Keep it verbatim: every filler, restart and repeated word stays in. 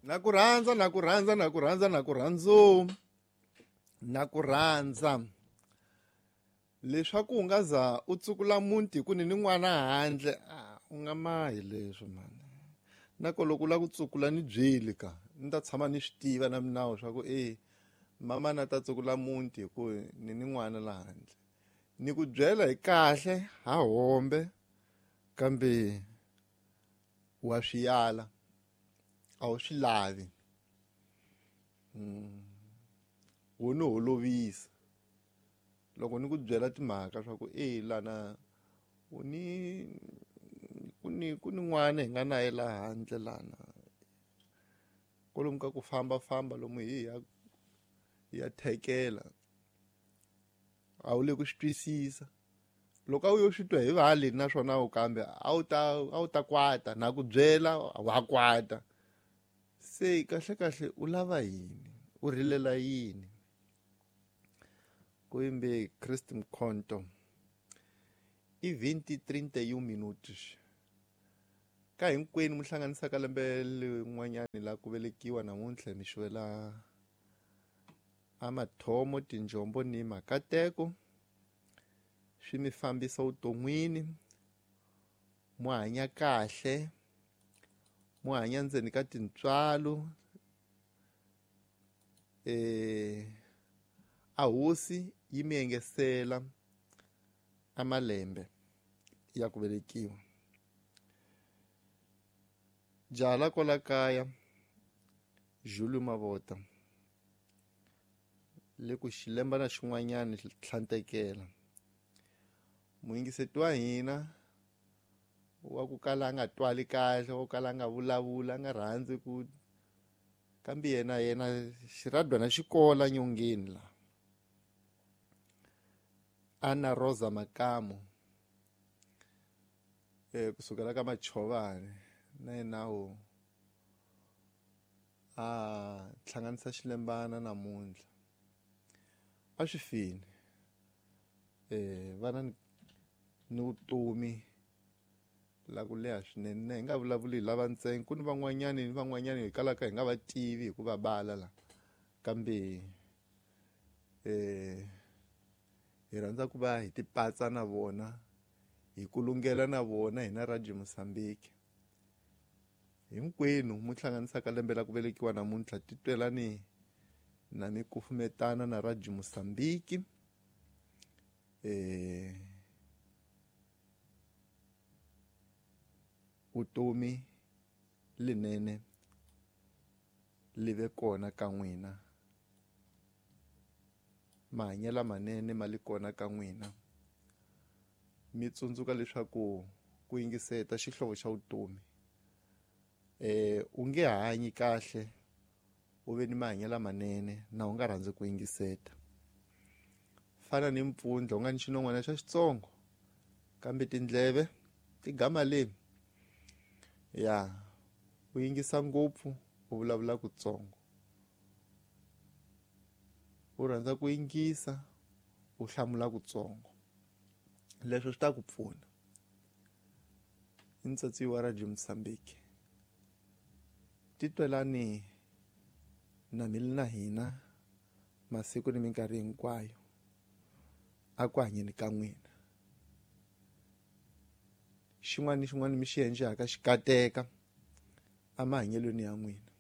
Na ku rhandza na ku rhandza na ku rhandza na ku rhandzu na ku rhandza leswaku u nga za u tsukula muti hi ku ni ni n'wana handle u nga mahi leswo mani na ko loko u lava ku tsukula ni byeli ka ni ta tshama ni swi tiva na minawu swa ku e mama na ta tsukula muti hi ku ni ni n'wana la handle ni ku byela hi kahle ha hombe kambe wa swi yala a wu swi lavi wo ni holovisa loko ni ku byela timhaka swa ku e lana u ni ku ni ku ni n'wana hi nga na ye laha handle lana kwalomu ka ku fambafamba lomu hi ya hi ya thekela a wu le ku swi twisisa loko a wu yo swi twa hi vale naswona u kambe a wu ta a wu ta kwata na ku byela wa kwata se kahle kahle u lava yini u rilela yini ku yimbe Christ Mkhonto i vinte trinta e um minutos ka hinkwenu mu hlanganisaka lembe lin'wanyani la ku velekiwa namuntlha mi xivela a mathomo tinjombo ni makateko swi mi fambisa vuton'wini mu hanya kahle mu hanya ndzeni ka tintswalo eh a hosi yi mi engesela a malembe ya ku velekiwa jaha kwala kaya Julio Mavota le ku xilemba na xin'wanyana tlhantekela muyingiseti wa hina wa ku kala a nga twali kahle wa ku kala a nga vulavula a nga rhandzi ku kambe yena yena xiradwana xikola nyongeni la Ana Rosa Makamo eh kusukela ka Machovani na yena wo a hlanganisa xilembana namuntlha a swi fini eh vana ni vutomi la ku leha swinene hi nga vulavuli hi lava ntsena ku ni van'wanyani ni van'wanyani hi kalaka hi nga va tivi hi ku va bala la kambe eh hi rhandza ku va hi tipatsa na vona hi kulungela na vona hina Radio Mozambique hinkwenu mu hlanganisaka lembe la ku velekiwa namuntlha titwelani na mi kufumetana na Radio Mozambique eh vutomi linene live kona ka n'wina mahanyelo manene ma le kona ka n'wina mi tsundzuka leswaku ku yingiseta xihlovo xa vutomi eh u nge hanyi kahle u ve ni mahanyelo manene na u nga rhandzi ku yingiseta fana ni mpfundla u nga ni xinon'wana xa xitsongo kambe tindleve ti gama le ya u yingisa ngopfu u vulavula kutsongo u rhandza ku yingisa u hlamula kutsongo leswo swi ta ku pfuna i ntsatsi wa Radio Mozambique titwelani na mi na hina masiku ni minkarhi hinkwayo a ku hanyeni ka n'wina xin'wana ni xin'wana mi xi endlaka xi kateka emahanyelweni ya n'wina.